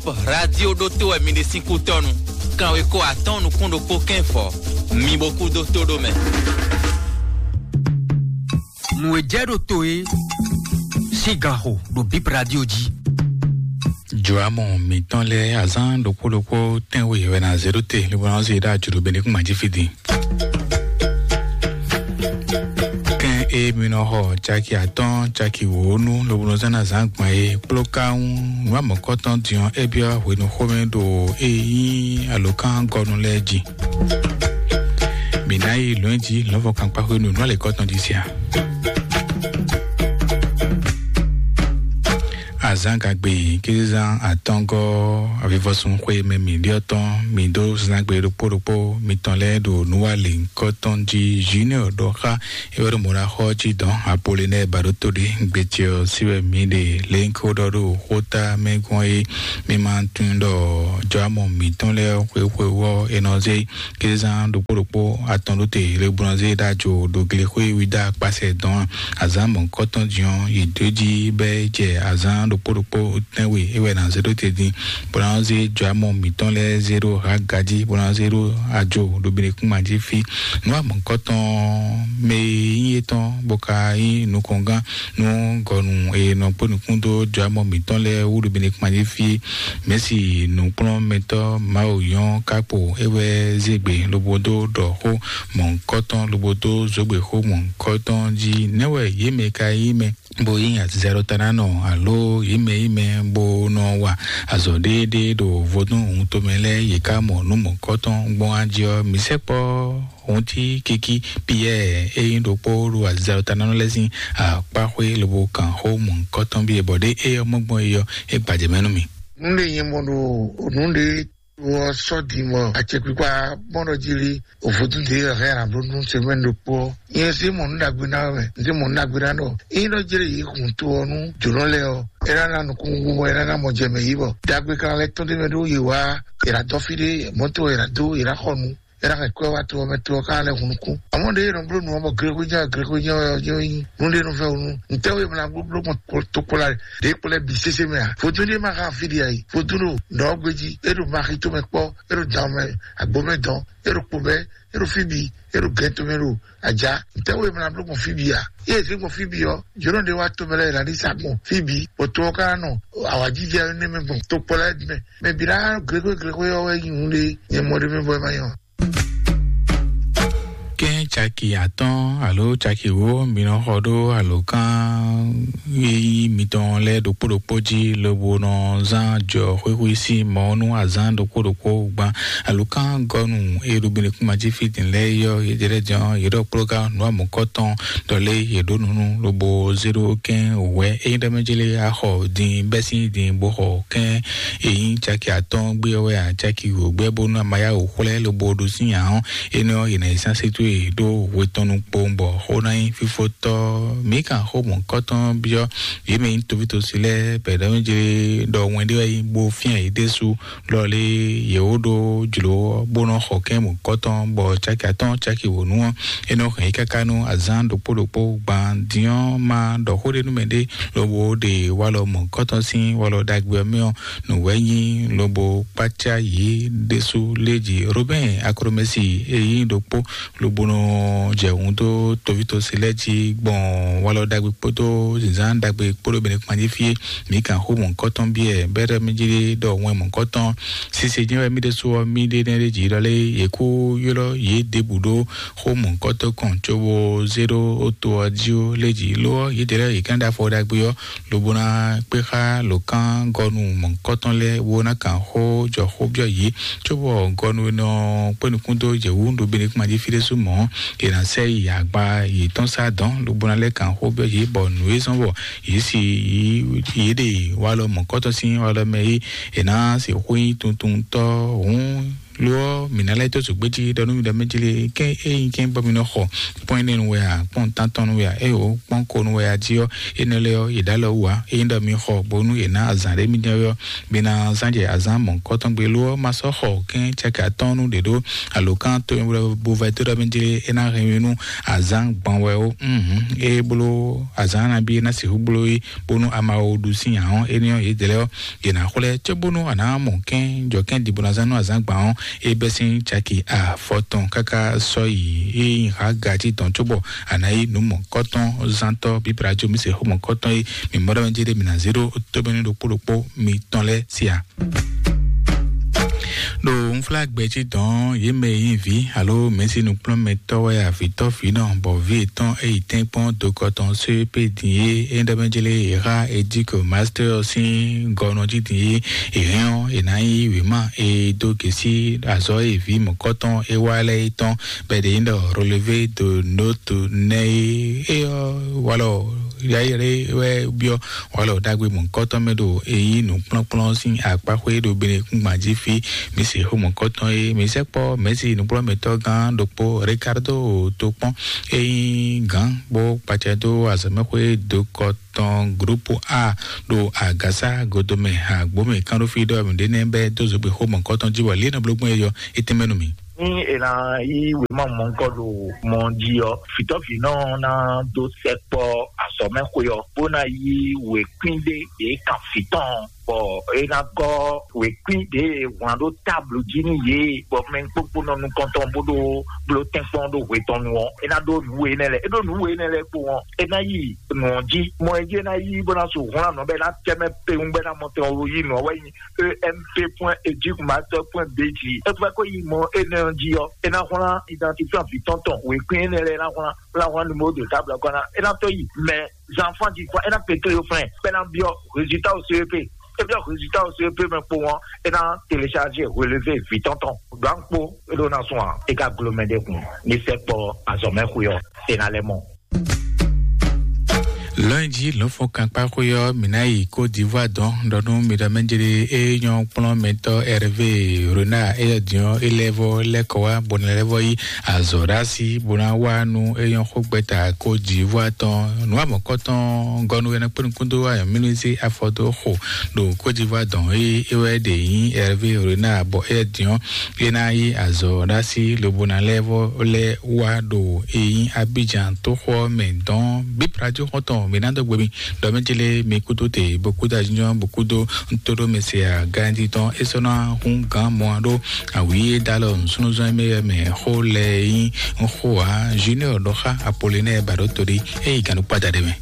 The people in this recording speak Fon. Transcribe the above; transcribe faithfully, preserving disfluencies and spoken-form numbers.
Radio ɖótó wɛ mi ɖe sín kútɔ́nu. Kanweko atɔ́ɔ́n nukún ɖokpó kɛ́nfɔ, mi bo kú dó tó ɖó mɛ. Nǔ e jɛ ɖo to e sín ganxo ɖo Bib Radio jí. Jɔamɔ mǐtɔn lɛ́ɛ azán ɖokpó ɖokpó tɛ́nwe wɛ ná zé ɖó te, lobo ná zé ɖó ajǔɖó be ní kún majífí din. Kɛn e mi nɔ xɔ caki atɔ́ɔ́n caki wǒ nú lobo nɔ zán ná zán gbɔn e kpló ká ŋu nǔ amɔ̌kɔtɔn din ɔ́, é byɔ́ hwenu xomɛ ɖo e nyí alǒkán gɔnu lɛ́ɛ jí. Mǐ ná yi lɔ̌n jí lɔ̌nfɔ́n kankpá hwenu nú alěkɔ́tɔn jí sia. Azán gagbe kézezán atɔ́ngɔ́ avivɔsun xwe mɛ mǐ ɖyɔ́ tɔn mǐ dó zán gbe ɖokpó ɖokpó mitɔn lɛ́ɛ ɖo nǔwalěnkɔ́tɔn jí. Junior ɖɔ xá é wɛ ɖo mɔ̌ ná xɔ jí dɔn Apolinɛ́ɛ ba ɖó tó ɖi gbecɛ ɔ́ sí wɛ mǐ ɖe lěnko ɖɔ ɖo xóta mɛ gbɔn é. Mi ma tunwun ɖɔ jɔamɔ mǐtɔn lɛ́ɛ xwexwe ɔ́ è nɔ zé kézán ɖokpó ɖokpó atɔn ɖó te le bó nɔ zé ɖó ajo ɖo glexwé Yuda kpasɛ dɔn azǎn mɔ̌kɔtɔn jí ɔ́ yi dó jí bɛ́ jɛ azǎn ɖokpó ɖokpó tɛ́nwe é wɛ ná zé ɖó te dín bó ná zé jɔamɔ mǐtɔn lɛ́ɛ zé ɖó Haga jí bó ná zé ɖó ajo ɖo Benekúma jí fí. Nǔ amɔ̌kɔtɔn mɛ e nyí étɔn bó ka nyí nukɔngán nú gɔnu e nɔ kpó nukún dó jɔamɔ mǐtɔn lɛ́ɛ wú ɖo Benekúma jí fí. Mɛ̌si nǔkplɔ́nmɛtɔ́ Mawu nyɔ́ kákpo é wɛ zé gbe lobo dó ɖɔ xó mɔ̌hunkɔtɔn lobo dó zǒgbe xó mɔ̌hunkɔtɔn jí. Nɛ̌ wɛ yě mɛ ka yí mɛ bó yí azizɛɖɔtanánɔ alo yě mɛ yí mɛ bó nɔ wa azɔ̌ ɖéeɖée ɖo vodún hun tomɛ lɛ́ɛ yě ká mɔ nǔ mɔ̌hunkɔtɔn gbɔn á jí ɔ́, mǐ sɛkpɔ́ Hunti kiki Piyɛ́ɛ e nyí ɖokpó ɖo azizɛɖɔtanánɔ lɛ́ɛ sín akpáxwé lobo kan xó mɔ̌hunkɔtɔn bíe bɔ ɖé é ɔ́ mɔ gbɔn é ɔ́, é gbajɛ mɛ nú mì. Nú ɖé nyɛ mɔ ɖo nǔ ɖé wɔ sɔ́ din mɔ acɛkpikpa mɔɖɔ jí lí òvodún ɖé hɛn ablónú semɛ́n ɖokpó ɔ́. Nyɛ sí mɔ nǔ ɖagbe ná wɛ, n sí mɔ nǔ ɖagbe ná ɖɔ. Ényí ɖɔ jlé yě hun to ɔ́ nú jǒnɔ lɛ́ɛ ɔ́, é ná ná nukúnnú bɔ é ná ná mɔ jɛ mɛ yí bɔ. Ɖagbe kan lɛ́ tɔ́n ɖé mɛ ɖó yě wá, è nǎ dɔ́ fí ɖé, mɔ̌to è nǎ dó, è nǎ xɔ nǔ. É ná hɛn kwɛ́ wá to ɔ́ mɛ, to ɔ́ ka lɛ́ hun nukún. Amɔ̌ ɖě e nɔ bló nǔ ɔ́ bɔ Grégoire Grégoire ɔ́ jɔ nyí nǔ ɖé nú fɛ́ wú nú. Ntɛ́ wú è mla bló bló gbɔn tokpɔla ɖě kplɔ́ bǐ sésé mɛ a? Vodún ɖé ma xa fí ɖi a yi. Vodún ɖo nɔ̌ ɔ́ gbé jí, é ɖo maxi tomɛ kpɔ́, é ɖo dan mɛ, agbo mɛ dɔn, é ɖo kpo mɛ, é ɖo fí bǐ, é ɖo gɛn tomɛ ɖo ajá. Ntɛ́ wú è mla bló gbɔn fí bǐ a? Yé è zé gbɔn fí bǐ ɔ́, jǒnɔ ɖé wá tomɛ lɛ́ɛ è nǎ ɖi sa gbɔn fí bǐ, bɔ to ɔ́ ka ná nɔ awǎjijɛ énɛ́ mɛ gbɔn tokpɔla mɛ. Mɛ bǐ ná Grégoire Grégoire ɔ́ wɛ nyí nǔ ɖé, nyɛ mɔ ɖé mɛ bɔ é ma nyɔ. Kɛ́n caki atɔ́ɔ́n alo caki wǒ mi nɔ xɔ ɖó alǒkan yíyí mitɔn lɛ́ɛ ɖokpó ɖokpó jí lobo nɔ zán jɔ xwéxwé sín mɔ̌ nú azǎn ɖokpó ɖokpó gban. Alǒkan gɔ́nu e ɖo Benekúma jí fí din lɛ́ɛ yɔ́ yě jɛ lɛ́ jɔ́n yě ɖɔ kplɔ́gán nǔ amɔ̌kɔ́tɔn ɖɔ lé yě ɖó nǔ nú lobo zé ɖó kɛ́n wǔ wɛ. Ényí ɖɔ mɛ jlé axɔ din bɛ́ sín din bó xɔ kɛ́n e nyí caki atɔ́ɔ́n gbé ɔ́ wɛ ǎ, caki wǒ gbɛ́ bónú a ma yá wǔ xwlɛ́ lobo ɖo sín ǎ ɔ́, énɛ́ ɔ́, è nǎ yi sán sétú e ɖó hwe tɔn nukpowun bɔ xó ná nyí fífótɔ́. Mǐ kan xó mɔ̌kɔ́tɔn byɔ́ yě mɛ nyí tovítosi lɛ́ɛ bɛ̌ ɖɔ mɛ jlé ɖɔ wɛn ɖé wɛ nyí bó fyán yě ɖésú lɔ lé yě wó ɖó jlǒ ɔ́, bó nɔ́ xɔ kɛ́n mɔ̌kɔ́tɔn bɔ caki atɔ́ɔ́n caki wǒ nú ɔ́, é nɔ hɛn yě káká nú azǎn ɖokpó ɖokpó gban din ɔ́ ma ɖɔ xó ɖé nú mɛɖé lobo ɖe walɔ mɔ̌kɔ́tɔn sín walɔ ɖagbe ɔ́ mɛ ɔ́, nǔ wɛ nyí lobo kpácá yě ɖésú lé jí. Robɛ́n Aklomɛsi e nyí ɖokpó lobo nɔ jɛ hun dó tovítosi lɛ́ɛ jí gbɔn walɔ ɖagbe kpódó zǐnzán ɖagbe kpódó Benekúma jí fí é. Mǐ kan xó mɔ̌kɔ́tɔn byɔ́ bɛ́ ɖɔ mí jí ɖɔ wɛn mɔ̌kɔ́tɔn sise jɛ́n wɛ mí ɖésú ɔ́ mí ɖe nɛ́ ɖé jǐ ɖɔ lé yě kú ylɔ́ yě ɖěbǔ ɖó xó mɔ̌kɔ́tɔn kɔn cóbó zé ɖó to ɔ́ jí ó lé jí. Lo ɔ́, yědɛɛ lɛ́ɛ yě kán ɖó afɔ ɖagbe ɔ́, lobo ná kpé xá lǒkán gɔnu mɔ̌kɔ́tɔn lɛ́ɛ bó ná kan xó jɔ xó byɔ́ yě, cóbɔ gɔnu e nɔ kpé nukún dó yě wú ɖo Benekúma jí fí ɖésú mɔ̌, è nǎ sɛ yi agba yětɔn sá dɔ̌n, lobo ná lɛ́ kan xó byɔ́ yě, bɔ nǔ e zɔ́n bɔ yě si yě ɖe walɔ mɔ̌kɔ́tɔn sín walɔ mɛ é, è nǎ sixú nyí tuntuntɔ́ hǔn Lo ɔ́, mǐ ná lɛ́ dó zǒgbéjí ɖɔ nú mi ɖɔ mɛ jí lé, kɛ́n ényí kɛ́n bɔ mi nɔ xɔ kpɔ́n énɛ́ nu wɛ a, kpɔ́n tántɔn nu wɛ a, é o kpɔ́n ko nu wɛ a jí ɔ́, énɛ́ lɛ́ɛ ɔ́, yě ɖó alɔ wú ǎ. Ényí ɖɔ mi xɔ bónú yě ná azǎn ɖé mi jɛ́n ɔ́, mi ná zán jɛ azǎn mɔ̌hunkɔtɔn gbe. Lo ɔ́, ma sɔ́ xɔ kɛ́n caki atɔ́ɔ́n nu ɖě ɖó alǒkan to bo vɛ dó ɖɔ mɛ jí lé, é ná hɛn mi nú azǎn gban wɛ ó. Ée bló azǎn nabí é ná sixú bló é, bónú a ma wo ɖu sín ǎ ɔ́, énɛ́ ɔ́, yědɛɛ lɛ́ɛ ɔ́, yě ná xwlɛ́ cóbónú a nǎ mɔ kɛ́n jɔ kɛ́n ɖi bó ná zán nú azǎngban ɔ́, é bɛ́ sín caki afɔtɔn káká sɔ́ yi é nyí Haga jí dɔn cóbɔ a nǎ yí nǔ mɔ̌kɔtɔn zántɔ́ bíblájó mǐ se xó mɔ̌kɔtɔn é mǐ mɔ ɖɔ mɛ jí ɖé mǐ ná zé ɖó tóbɛ́nú ɖokpó ɖokpó mitɔn lɛ́ɛ sí a. Ɖo unflágbɛ jí dɔn yě mɛ e nyí vǐ alo mɛ̌si nukplɔ́nmɛtɔ́ wɛ avǐtɔ́ vǐ nɔ bɔ vǐ yětɔn e yi tɛ́nkpɔ́n dokɔ tɔn só pé din é é ɖɔ mɛ jlé è xá Ediko Master ɔ́ sín gɔnɔ jí din é è hɛn ɔ́ è nǎ nyí wěma e dó gěsí azɔ̌ e vǐ mɔ̌kɔtɔn é wá lɛ́ɛ é tɔn bɔ è ɖe nyí ɖɔ Relevé de Note nɛ́ é é ɔ́ walɔ yayɛ́ wɛ byɔ́ walɔ ɖagbe mɔ̌kɔtɔn mɛ ɖo e nyí nǔkplɔ́nkplɔ́n sín akpáxwé ɖo Benekúngban jí fí. Mǐ se xó mɔ̌kɔtɔn e mǐ sɛkpɔ́ mɛ̌si nǔkplɔ́nmɛtɔ́ gán ɖokpó Ricardo tó kpɔ́n e nyí gǎn bó kpacɛ dó azɔ̌mɛxwé dokɔ tɔn groupe A ɖo agǎsá godomɛ agbǒmɛ kánɖófí ɖɔ mǐɖé nɛ́ bɛ́ dó zogbe xó mɔ̌kɔtɔn jí wɔ lě nɔ bló gbɔn é yɔ é tɛ́nmɛ nú mì. Ní è nǎ yí wěma mɔ̌hunkɔ ɖo mɔ jí ɔ́, vǐtɔ́vǐnɔ ɔ́ ná dó sɛkpɔ́ azɔ̌mɛxwé ɔ́, bó ná yí wěkwín ɖé ɖě kan vǐ tɔn, bɔ é ná gɔ́ wěkwín ɖě e wlán ɖó táblu jí nú yě, bɔ mɛ kpókpó nɔ nukɔntɔn bó ɖó bló tɛ́nkpɔ́n ɖó hwe tɔn nu ɔ́, é ná ɖó nǔ we énɛ́ lɛ́ɛ. É ɖó nǔ we énɛ́ lɛ́ɛ kpo ɔ́, é ná yi nǔ ɔ́ jí. Mɔ e jí é ná yí bó ná su hwlán nǔ ɔ́ bɔ é ná tɛ́ mɛ kpewun bɔ é ná mɔ tɛn ɔ́ yí nǔ ɔ́ wɛ nyí E M P point éduc master point B G. É fɛ ko yi mɔ énɛ́ ɔ́ jí ɔ́, é ná hwlán identifiant vǐ tɔn tɔn wěkwín énɛ́ lɛ́ɛ, é ná hwlán, é ná hwlán numéro de table ɔ́ kɔn ná, é ná tó yi mɛ zanfan jí fɔ, é ná kpé tó yo flɛn, bɔ é ná byɔ́ résultat au C E P. É byɔ́ résultat au C E P mɛ kpo ɔ́, é ná télécharger relevé vǐ tɔn tɔn. Gbǎn kpó é ɖó ná sún ǎ, é ka glo mɛ ɖé kun ní sɛkpɔ́ azɔ̌mɛxwé ɔ́, é ná lɛ́ mɔ. Lɔ̌nyijǐ lɔ̌nfɔ́nkankpáxwé ɔ́, mǐ ná yi Côte d'Ivoire dɔn ɖɔ nú mi ɖɔ mɛ jlé é nyɔ́ kplɔ́nmɛtɔ́ Hervé Renard éyɛ́ din ɔ́, é lɛ́ vɔ lɛ́ kɔ wá bó ná lɛ́ vɔ yí azɔ̌ ɖó así bó ná wá nú é nyɔ́ xógbɛ́ta Côte d'Ivoire tɔn. Nǔ amɔ̌kɔ́tɔn gɔ́nú é ná kpé nukún dó ayɔ̌mínúzé afɔ dó xo ɖo Côte d'Ivoire dɔn é é wɛ ɖe nyí Hervé Renard bɔ éyɛ́ din ɔ́ é ná yí azɔ̌ ɖó así lobo ná lɛ́ vɔ lɛ́ wá ɖo e nyí Abidjan tóxo ɔ́ mɛ dɔn. Bíblájú xɔ́ntɔn mǐ ná dó gbe mi ɖɔ mɛ jlé mi kúdó te bó kúdó ajínjɔ́n bó kúdó ntó ɖó mɛ se agánjí tɔn é sɔ́ ná hún gǎn mɔ ɖó awǐ é dó alɔ nǔsúnnúzɔ́n mɛ mɛ xó lɛ nyí xó ǎ. Junior ɖɔ xá Apollinaire ba ɖó toɖí é yi gǎn ɖó kpáda ɖé mɛ.